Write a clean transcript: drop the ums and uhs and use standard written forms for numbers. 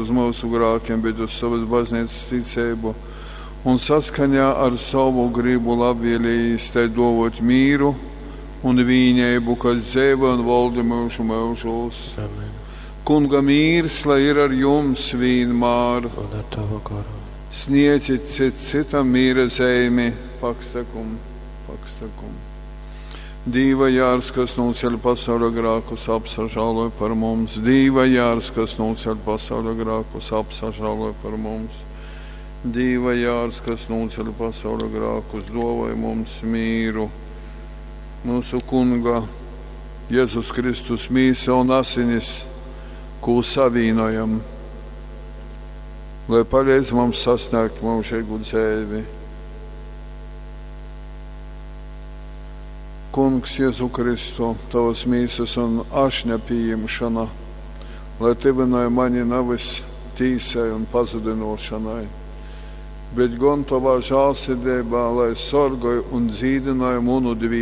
uz myusu grākim, bet uz sovas baznīcas ticeibu, un saskaņā ar sovu gribu labvēlējīs tai dōvōt mīru un vīneibu, kas dzeivoj un volda myužu myužūs. Amen. Kunga mīrs, lai ir ar jums vīnmār. Un ar tavu goru. Sniedzit cits citam mīra zeimi, pakstakum, pakstakum. Dīva jārs, kas nūceļ pasauļa grākus, apsažāloj par mums. Dīva jārs, kas nūceļ pasauļa grākus, apsažāloj par mums. Dīva jārs, kas nūceļ pasauļa grākus, dāvoj mums mīru. Mūsu Kunga Jēzus Kristus mīsa un asinis, kū savīnojam, lai palīdz mums sasniegt mūžīgu dzēvi. Kungs Jēzu Kristu, tavas mīsas un ašņa pieņemšana, lai tyvinoj mani nevis tīsai un pazudinošanai, bet gan tavā žālsirdībā, lai sorgoj un dzīdinoj munu dviesi.